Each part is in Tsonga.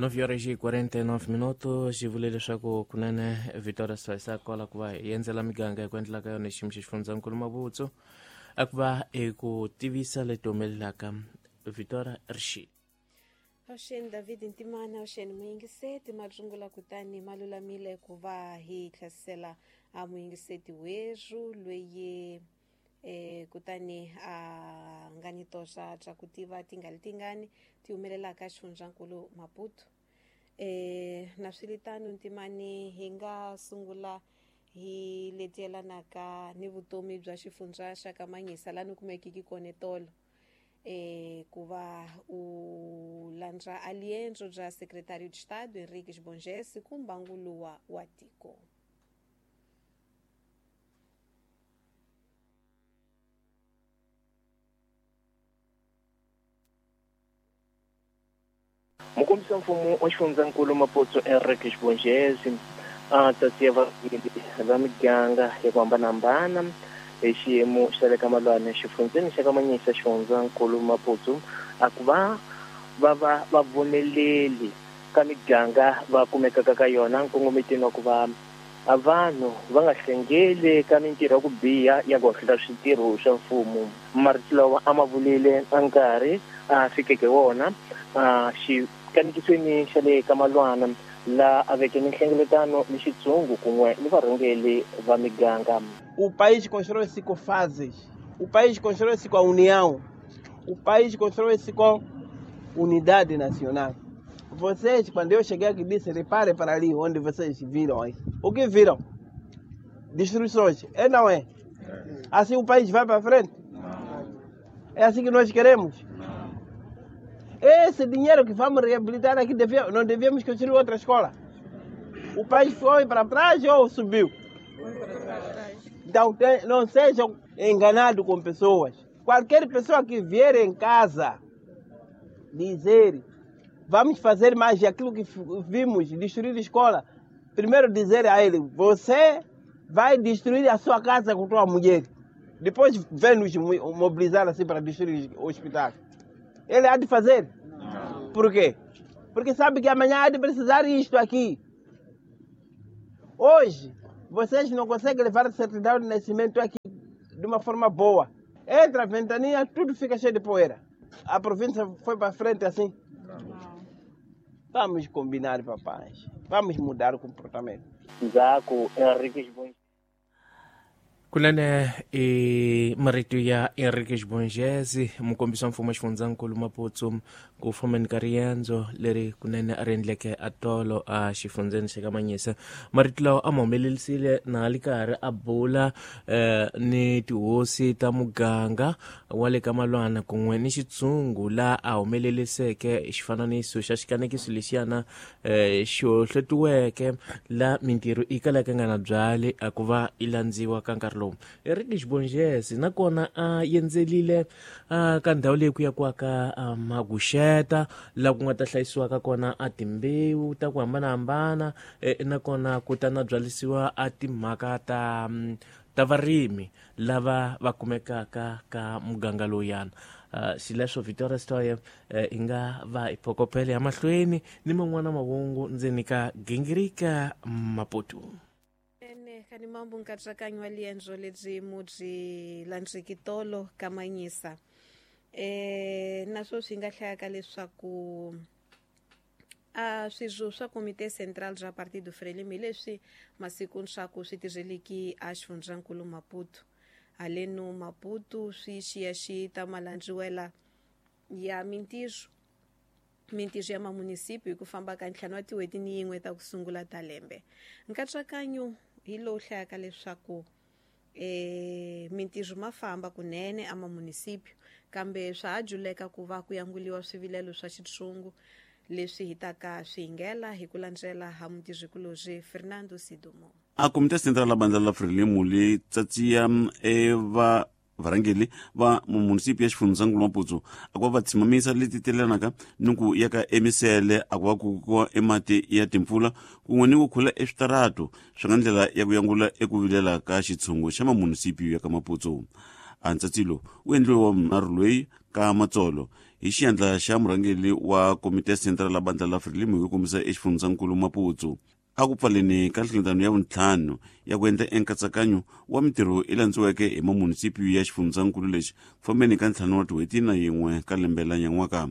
9 horas e 49 minutos xi vule leswaku kunene Victoria Swayisa kwala ku va hi endzela miganga hi ku endlela ka yona xiyimo xa xifundzankulu Mabutsu a ku va hi ku tivisa leti humelelaka Victoria Rixile. Avuxeni David Ntimana, avuxeni muyingiseti marungula kutani ma lulamile ku va hi tlhasela a muyingiseti werhu loyi kutani a nga ni toxa bya ku tiva tingali tingani ti humelelaka xifundzankulu Maputo. Na swiritano Ntimani hi nga sungula hi leti yelanaka ni vutomi bya xifundza xa ka Manyisa laha ni kumekiki kona tolo. Ku va u landza aliendzo bya Secretario de Estado Henrique Bongese ku mbanguluwa wa tiko. Mukombisa mfumo wa xifundzankulu Maputo Henrique Bongese a tsatsia varhangeri va miganga ya ku hambanahambana hi xiyimo xa le ka Malwane xifundzeni xa ka Manyisa xifundzankulu Maputo a ku va va va vavoneleli ka miganga va kumekaka ka yona nkongometeni wa ku va a vanhu va nga hlengeli ka mintirho ya ku biha ya ku hohlota switirho swa mfumo. Marito lawa a ma vulile a nkarhi a fikeke wona a xikanikisweni xa le ka Malwana la a veke ni nhlengeletano ni xitshungu kun'we ni varhangeli va miganga. O país constrói-se com fases, o país constrói-se com a união, o país constrói-se com unidade nacional. Vocês, quando eu cheguei aqui, disse, repare para ali onde vocês viram aí. O que viram? Destruições. É não é? Assim o país vai para frente? É assim que nós queremos? Esse dinheiro que vamos reabilitar aqui, não devíamos construir outra escola. O país foi para trás ou subiu? Então, não sejam enganados com pessoas. Qualquer pessoa que vier em casa dizer vamos fazer mais aquilo que vimos, destruir a escola. Primeiro dizer a ele, você vai destruir a sua casa com a tua mulher. Depois vem nos mobilizar assim para destruir o hospital. Ele há de fazer? Não. Por quê? Porque sabe que amanhã há de precisar isto aqui. Hoje, vocês não conseguem levar a certidão de nascimento aqui de uma forma boa. Entra a ventania, tudo fica cheio de poeira. A província foi para frente assim. Vamos combinar, papais. Vamos mudar o comportamento. Ndzhaku Henrique Bongese. Kunene i marito ya Henrique Bongese, mukombisi wa mfumo wa xifundzankulu Maputo, ku fambeni ka riendzo leri kunene a ri endleke a tolo a xifundzeni xa ka Manyisa. Marito lawa a ma humelerisile na li karhi a bula ni tihosi ta muganga wa le ka Malwana kun'we ni xitshungu laha a humeleriseke xifananiso xa xikanekiso lexiyana xi hohletiweke la mintirho yi kalaka nga na byali a ku va yi landziwa ka nkarhi lowu. Henrique Bongese nakona a endzelile ka ndhawu leyi ku yakiwaka maguxeta laha ku nga ta hlayisiwaka kona a timbewu ta ku hambanahambana, nakona ku ta na byalisiwa a timhaka ta varimi lava va kumekaka ka muganga lowuyana. Xileswo Victoria Stoye hi nga va hi phokopele ya mahlweni ni man'wana mahungu ndzeni ka gingirika Maputo. Ene kani mambo nkatsakanyo wa liendzo lebyi mu byi landziki tolo ka Manyisa. Naswo swi nga hlayaka leswaku a swirho swa Komite Central bya Partido Frelimo hi leswi masiku swa ku swi tirheliki a xifundzankulu Maputo. Haleno Maputo swi xiyaxiyi ta malandziwela ya mintirho ya mamunisipi hi ku famba ka 5 wa tin'hweti ni yin'we ta ku sungula ta lembe. Nkatsakanyo hi lowu hlayaka leswaku mintirho ma famba kunene a mamunisipi, kambe swa ha juleka ku va ku yanguliwa swivilelo swa xitshungu leswi hi taka swi hingela hi ku landzela ha mutirhikulorhi Fernando Sidumo. A Komite Central la bandla la Frelimo li tsatsia va varhangeri va munisipi ya xifundzankulu Maputo a ku va va tshimamisa leti telanaka ni ku ya ka emisele a ku va ku kuwa emati ya timpfula kun'we ni ku khula eswitarato swi nga ndlela ya ku yangula eku vilela ka xitshungu xa mamunisipi ya ka Maputo. A ntsatsilo wu endliwe wa vunharhu loyi ka Matsolo. Hi xiandla xa murhangeri wa Komiti ya Central la bandla la Frelimo hi ku kombisa exifundzhankulu Maputo. A ku pfaleni ka nhlengeletano ya vuntlhanu ya ku endla enkatsakanyo wa mintirho i landziweke hi mamunisipiyu ya xifundzankulu lexi ku fambeni ka 5 wa tin'hweti na yin'we ka lembe la nyan'waka.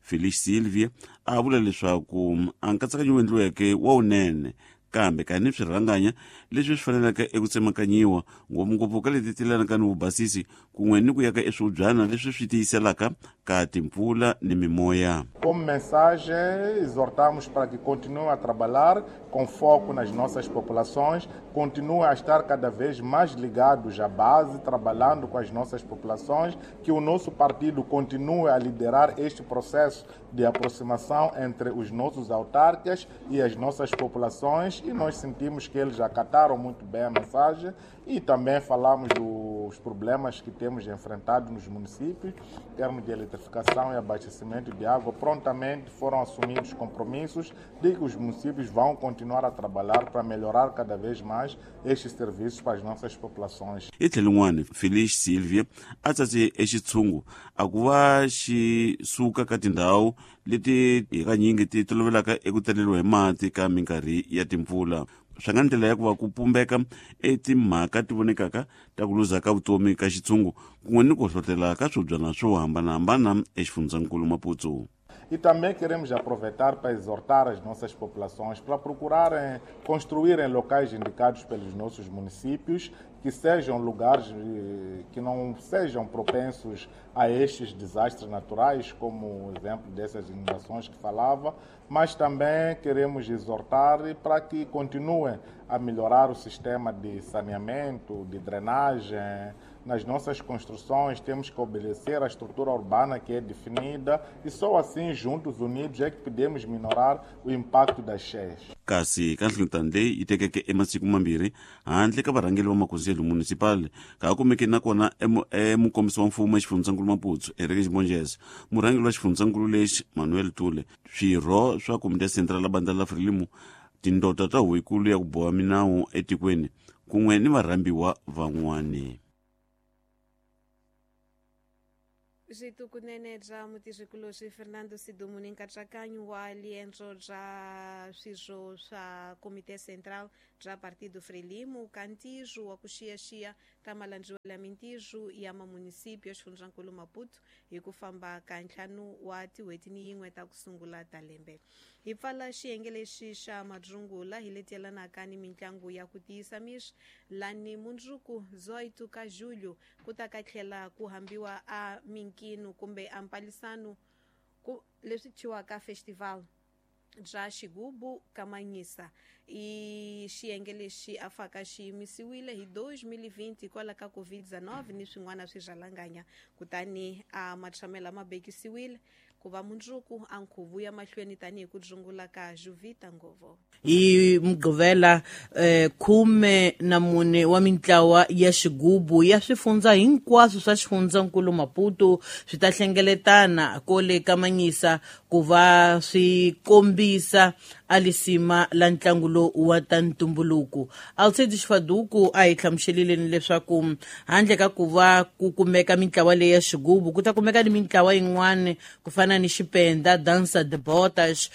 Felix Silvia a vula leswaku a nkatsakanyo wu endliweke wa wunene kambe ka ni swirhanganya leswi swi faneleke eku tsemakanyiwa ngopfungopfu ka leti tilanaka ni vubasisi kun'we ni ku ya ka eswihubyana leswi swi tiyiselaka ka timpfula ni mimoya. Como mensagem, exortamos para que continuem a trabalhar com foco nas nossas populações, continuem a estar cada vez mais ligados à base, trabalhando com as nossas populações, que o nosso partido continue a liderar este processo de aproximação entre os nossos autarcas e as nossas populações, e nós sentimos que eles acataram muito bem a mensagem e também falamos dos problemas que temos enfrentado nos municípios, em termos de eletrificação e abastecimento de água. Prontamente foram assumidos compromissos de que os municípios vão continuar a trabalhar para melhorar cada vez mais estes serviços para as nossas populações. Hi tlhelo rin'wana, Felix Silvia a tsatse exitshungu a ku va xi suka ka tindhawu leti hakanyingi ti tolovelaka eku taleriwa hi mati ka minkarhi ya timpfula. Swi nga ndlela ya ku va ku pumbeka etimhaka ti vonekaka ta ku luza ka vutomi ka xitshungu kun'we ni ku hlohlotela ka swibyana swo hambanahambana exifundzankulu Maputo. E também queremos aproveitar para exortar as nossas populações para procurarem construírem locais indicados pelos nossos municípios, que sejam lugares que não sejam propensos a estes desastres naturais, como o exemplo dessas inundações que falava, mas também queremos exortar para que continuem a melhorar o sistema de saneamento, de drenagem. Nas nossas construções temos que obedecer à estrutura urbana que é definida e só assim, juntos, unidos, é que podemos minorar o impacto das cheias. Kasi ka nhlengeletano leyi yi tekeke emasiku mambirhi handle ka varhangeri va makhonselo municipal ka ha kumeke nakona emukombisi wa mfumo exifundzankulu Maputo Henrique Monges, murhangeri wa xifundzankulu lexi Manuel Tule, swirho swa Komiti ya Central la bandla la Frelimo, tindota ta huvo ya ku boha minawu etikweni kun'we ni varhambiwa van'wani. Switukunene bya mutirhikulorhi Fernando Sidumu ni nkatsakanyo wa liendzo bya swirho swa Komite Central bya Partido Frelimo ka ntirho wa ku xiyaxiya ta malandziwela mintirho ya mamunisipio ya xifundzankulu Maputo hi ku famba ka 5 wa tin'hweti ni yin'we ta ku sungula ta lembe. Hi pfala xiyenge lexi xa madzungula hi leti yelanaka ni mitlangu ya ku tiyisa miri lani mundzuku 18 ka julho ku ta ka tlhela ku hambiwa a minkino kumbe a mpalisano ku leswi thyiwaka festival bya xigubu ka Manyisa. I xiyenge lexi a faka xi yimisiwile hi 2020 hikwalaho ka COVID-19 ni swin'wana swi kutani a matshamela ma bekisiwile ku va mundzuku a nkhuvu ya mahlweni tanihi ku dzungula ka Juvita Ngovo. Hi Mugqivela 14 wa mintlawa ya xigubu ya swifundza hinkwaswo swa xifundzankulu Maputo swi ta hlengeletana kole ka Manyisa ku va swi kombisa alisima la ntlangu lowu wa ta ntumbuluko. Alcide Xfaduku a hi hlamuselile leswaku handle ka ku va ku kumeka mintlawa leyi ya xigubu ku ta kumeka ni mintlawa yin'wana ku fana ni xipenda, dansa de botas,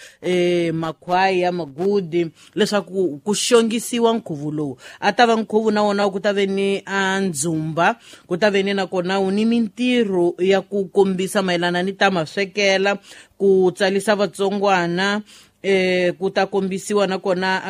makhwaya, magudi, leswaku ku xongisiwa nkhuvo lowu. A ta va nkhuvo na wona ku ta ve ni a ndzumba, ku ta ve ni nakona wu ni mintirho ya ku kombisa mayelana ni ta maswekela, ku tsalisa vatsongwana, ku ta kombisiwa nakona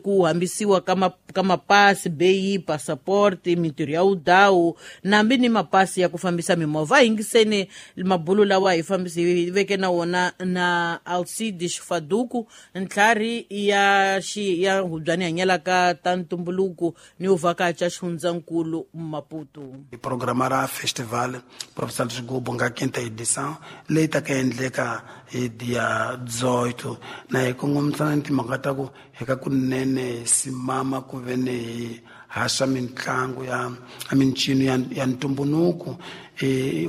ku hambisiwa ka mapasi, beyi, passport, mintirho ya udawu nambi ni mapasi ya ku fambisa mimovha. Yingiseni mabulu lawa hi fambisi hi veke na wona na Alcide Xfaduku, ntlhari ya ya hubyani hanyelaka ta ntumbuluko ni uvhakacha xifundzankulu Maputo. Hi programa ra festival Professor Xigubu nga 5ª edição leyi ta ka endleka hi dia 18 na hi kongomisana ni timhaka ta ku hi ka kunene hi simama ku ve ni hi haxa mitlangu ya mincino ya ntumbuluko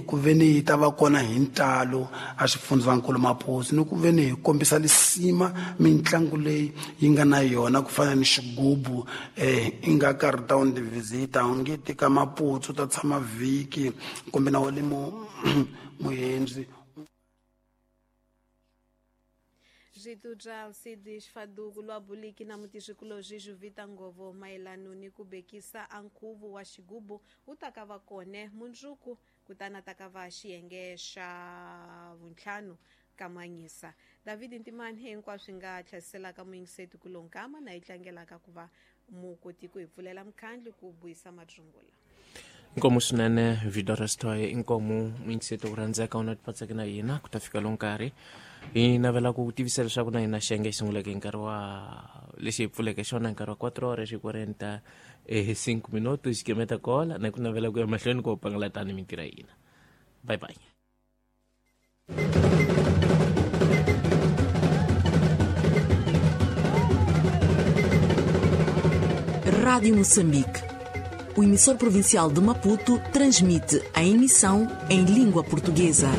ku ve ni yi ta va kona hi ntalo a xifundzankulu Maputo ni ku ve ni hi kombisa lisima mitlangu leyi yi nga na yona ku fana ni xigubu i nga karhi ta u visita u nge tika Maputo ta tshama vhiki kumbe na wa le muhendzi. Zwitu bya Alcides Faduku lwa buliki na mutixikuloji Juvita Ngovo mayelano ni ku bekisa a nkhuvo wa xigubu wu ta ka va kone mundzuku kutani ta ka va xiyenge xa vuntlhanu ka manyisa. David Ntimani hinkwaswo nga tlhasiselaka muyingiseti ku lonkama na yi tlangelaka ku va mukoti ku hi pfulela mukhandlu ku buyisa matsungula. Inkomu swinene Vidorestoy, inkomu muyingiseti ku rhandzeka u na tipatseke na hina ku ta fika lo nkarhi. Hi navela ku tivisa leswaku na hina xiyenge xi sunguleke hi nkarhi wa lexi hi pfuleke xona hi nkarhi wa 4 horas e 45 minutos xikemeta kola na ku navela ku ya mahlweni ku pangala tani mintirho ya hina. Bye bye. Rádio Moçambique. O emissor provincial de Maputo transmite a emissão em língua portuguesa.